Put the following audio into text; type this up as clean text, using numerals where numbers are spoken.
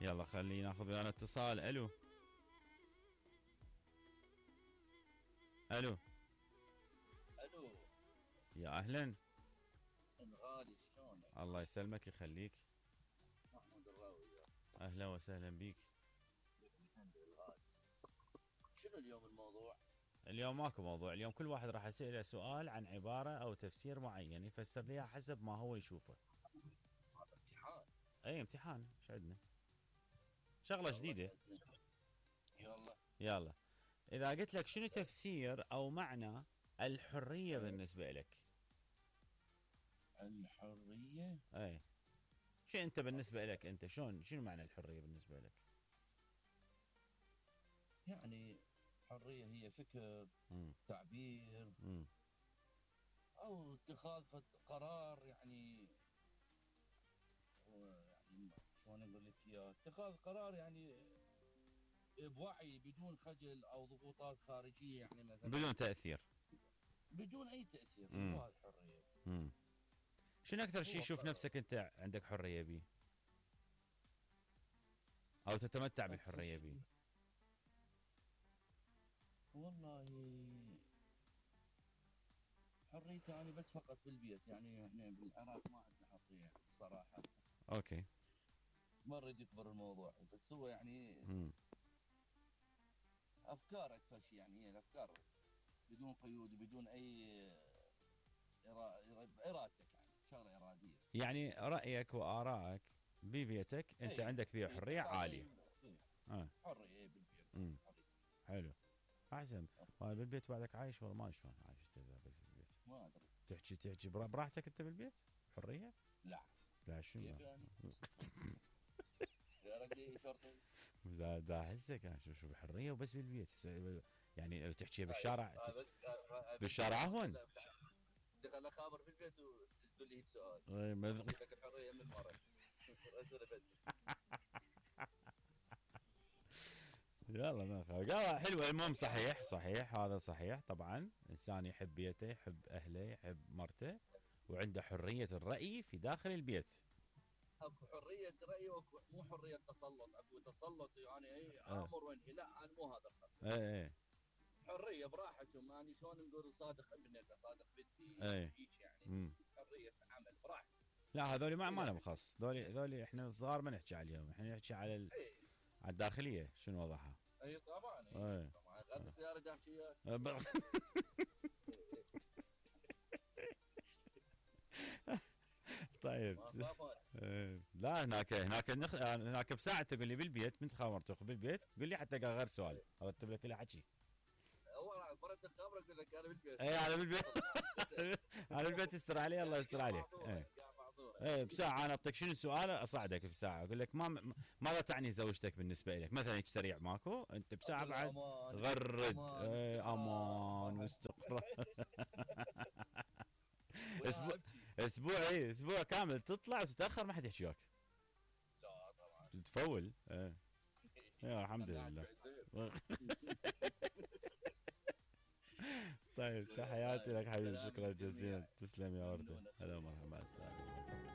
يلا خلينا ناخذ ويانا اتصال. الو الو. الو. يا اهلا. الغالي شلونك؟ الله يسلمك يخليك. محمود الراوي. اهلا وسهلا بيك. الغالي. شنو اليوم الموضوع؟ اليوم ماكو موضوع، اليوم كل واحد راح اساله سؤال عن عباره او تفسير معين يفسر لي إياه حسب ما هو يشوفه. هذا امتحان. اي امتحان، ايش عندنا؟ شغله جديده. يلا. يلا. اذا قلت لك شنو تفسير او معنى الحريه بالنسبه لك؟ الحريه؟ اي. شو انت بالنسبه لك انت شنو معنى الحريه بالنسبه لك؟ يعني حريه هي فكر، تعبير، او اتخاذ قرار، يعني شلون اقول لك اياه، اتخاذ قرار يعني بوعي بدون خجل او ضغوطات خارجيه، يعني مثلا بدون تاثير. بدون اي تاثير. هو الحريه. شنو اكثر شيء شوف نفسك انت عندك حريه به او تتمتع بالحريه به؟ والله حريتي يعني بس فقط بالبيت، يعني احنا بالعراق ما عندنا حريه الصراحه. اوكي. ما نريد يكبر الموضوع، بس هو يعني افكار اكثر شيء، يعني هي الافكار بدون قيود وبدون اي ارادتك، يعني شغله اراديه. يعني رايك وارائك ببيتك انت عندك فيها حريه عاليه. حريه بالبيت. حلو. احسن. بالبيت بعدك عايش ولا ما شلون عايش انت بالبيت؟ ما ادري. تحكي براحتك انت بالبيت؟ حريه؟ لا شنو؟ يا رجل شرطي. دا احسك انا شوف حريه وبس بالبيت، يعني لو تحكي بالشارع بالشارع اهون. دخل خابر بالبيت وتقول لي السؤال. لك الحريه من مره. يلا ما قال حلوه. المهم صحيح هذا صحيح طبعا. الانسان يحب بيته، يحب اهله، يحب مرته، وعنده حريه الراي في داخل البيت. اكو حريه راي واكو مو حريه تسلط. اكو تسلط يعني اي امر وانهي، لا انا مو هذا القصد. اي حريه براحتهم، يعني شلون نقول صادق ابنك صادق بنتي هيك يعني. حريه عمل براحتك. لا هذول ما لهم خاص، ذولي احنا الصغار ما نحكي عليهم، احنا نحكي على على الداخليه شنو وضعها. اي طبعا. طبعا غير السياره داخليه. طيب. لا هناك بساعه تقول لي بالبيت من خبرتك بالبيت، قول لي حتى غير سؤال ارتب لك له حكي. اول مرة الخبر اقول لك انا بالبيت. اي انا بالبيت. انا بالبيت يستر علي الله يستر عليك. اي بساعه انا اعطيك شنو السؤال اصعدك في ساعه اقول لك ماذا تعني زوجتك بالنسبه لك مثلا، هيك سريع ماكو انت بساعه بعد غرد. امان واستقرار. اسبوع كامل تطلع وتتاخر ما حد يحكي وياك. لا طبعا تفول. يا الحمد لله. طيب تحياتي لك حبيبي، شكرا جزيلا، تسلم يا ورده. هلا ومرحبا، مع السلامه.